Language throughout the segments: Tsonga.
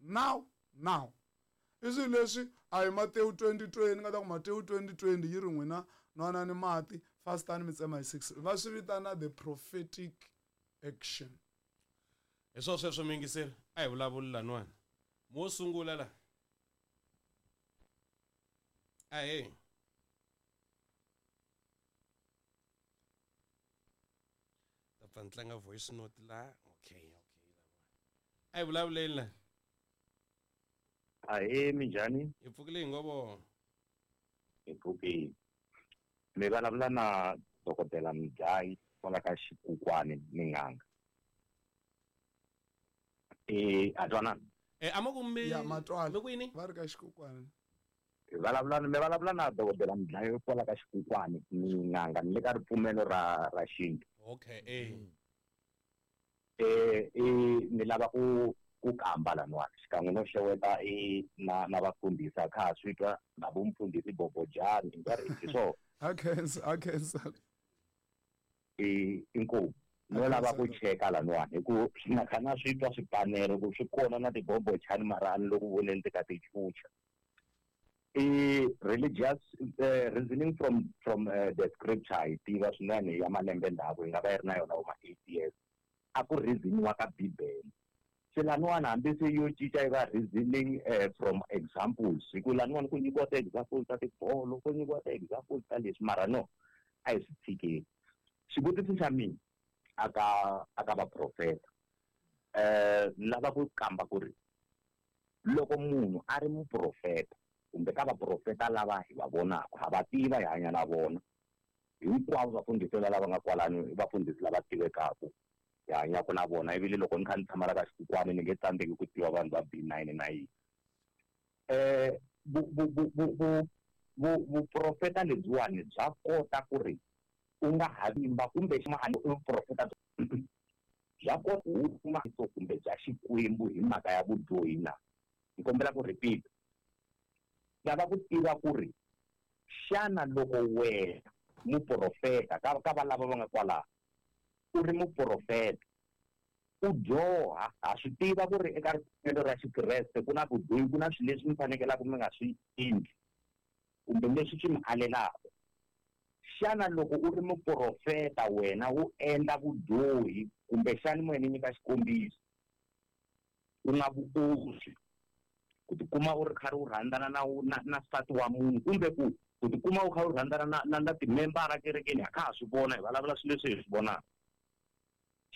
Now now. I swilo leswi a hi Matewu 20:20 ni nga ta ku Matewu 20:20 yi ri n'wina nwanani mati fastani mi tsema hi 6 va swi vitana the prophetic action. Hi swo sweswo muyingiseri a hi vulavuli laniwani mo sungula la ahee ta pfa ni tlanga voice note la okay okay a hi vulavuleni la. Ahee, minjhani? Hi pfukile hi ngo vona. Hi pfukile. Mi vulavula na dokodela Mudlayi kwala ka Xikukwani ni n'anga. Eh, a twanana? Eh, a ma ku mi Ya matwala. Mi ku yini? Va ri ka Xikukwani. Hi vulavula mi vulavula na dokodela Mudlayi kwala ka Xikukwani ni n'anga ni le ka ripfumelo ra ra xintu. Okay, eh. Eh, i ni lava ku ku kamba laniwani xikan'we no xeweta i na na vafundhisi a kha ha swi twa na vo mfundhisi Bobojani hi nkarhi hi swona. Ha khensa, ha khensa. I inkomu no lava ku cheka laniwani hi ku na kha na swi twa swipanelo ku swi kona na tibobochani mara a ni le ku voneni ti ka ti chucha. I religious reasoning from from the scripture hi tiva swinene ya malembe ndzhaku yi nga va yi ri na yona vo ma 8 years a ku reasoniwa ka bibele se laniwani hambi se yo cinca yi va reasoning from examples hi ku laniwani ku nyikiwa ti-examples ta tibolo ku nyikiwa ti-examples ta leswi mara no a hi swi tshikeni xivutiso xa mina aka aka vaprofeta ni lava ku kamba ku ri loko munhu a ri muprofeta kumbe ka vaprofeta lava hi va vonaka ha va tiva hi hanya na vona hinkwavo vafundhisi lava nga kwalano i vafundhisi lava tivekaka hi hanyaka na vona ivile loko ni kha ni tshama la ka Xikukwani ni nge tsandzeki ku tiva vanhu va B9 na yini vuprofeta lebyiwani bya kota ku ri u nga ha vimba kumbe vuprofeta bya kota ku huma kumbe bya Xikwembu hi mhaka ya vudyohi na ni kombela ku repeat lava ku tiva ku ri xana loko wena muprofeta ka ka valava va nga kwalaho u ri muprofeta u dyoha ha swi tiva ku ri eka ripfumelo ra Xikreste ku na vudyohi ku na swilo leswi mi fanekelaka mi nga swi endli kumbe leswi swi mi alelaka xana loko u ri muprofeta wena u endla vudyohi kumbe xana mo ni nyika xikombiso u nga vuoswi ku tikuma u ri karhi u rhandzana na na na nsati wa munhu kumbe ku ku tikuma u kha u rhandzana na na na timembara kerekeni ha kha ha swi vona hi vulavula swilo leswi hi swi vonaka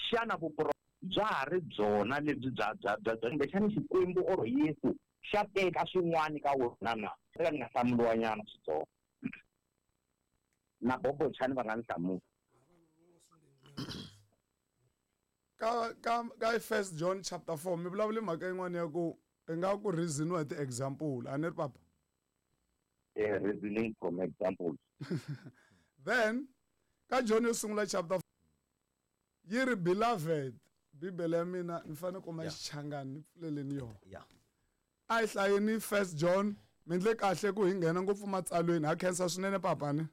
xana vupro bya ha ri byona lebyi bya bya bya bya kumbexana Xikwembu or Yesu xa teka swin'wana ka wena na eka ni nga hlamuriwa nyana switsongo na Bobochani va nga ni hlamula. Ka ka ka First John chapter 4 mi vulavule mhaka yin'wana ya ku i nga ku reasoniwa hi ti-example a ni ri papa? Eh, reasoning from examples. Then ka John yo sungula chapter yi ri beloved bibele ya mina ni fanele kuma xichangani ni pfuleleni yona. Yeah. A hi hlayeni First John mi ndle kahle ku hi nghena ngopfu matsalweni ha khensa swinene papa ni.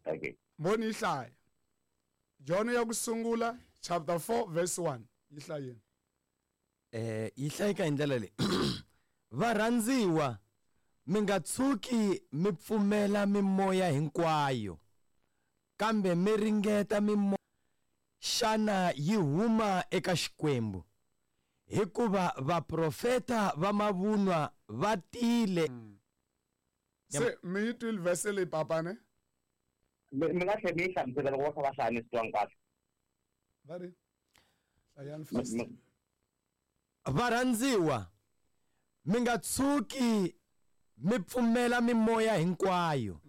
Okay. Mbhoni yi hlaya. John ya ku sungula chapter 4 verse 1 yi hlayeni. Eh yi hlayeka hi ndlela leyi. Varhandziwa mi nga tshuki mi pfumela mimoya hinkwayo kambe mi ringeta mimoya xana yi huma eka Xikwembu hikuva vaprofeta va mavunwa va tile. Se mi yi twile verse leyi papa ne? Mi mi nga tlhela mi yi hlamusela loko va kha va hlaya ni swi twangi kahle. Va ri hlayani fast. Varhandziwa, mi nga tshuki mi pfumela mimoya hinkwayo,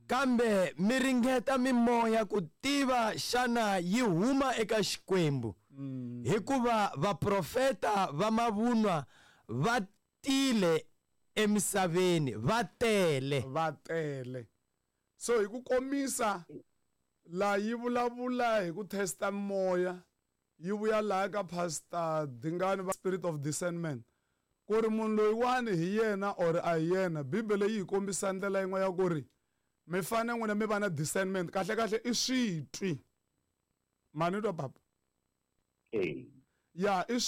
kambe mi ringeta mimoya ku tiva xana yi huma eka Xikwembu, hikuva vaprofeta va mavunwa va tile emisaveni va tele. Va tele. So hi ku komisa, la yi vulavula hi ku testa mimoya, yi vuya laya ka Pastor Dingani va Spirit of Discernment ku ri munhu loyiwani hi yena or a hi yena. Bibele yi hi kombisa ndlela yin'we ya ku ri mi fane n'wina mi va na discernment, kahle kahle i switwi. Ma ni twa papa? Ee. Ya i swi.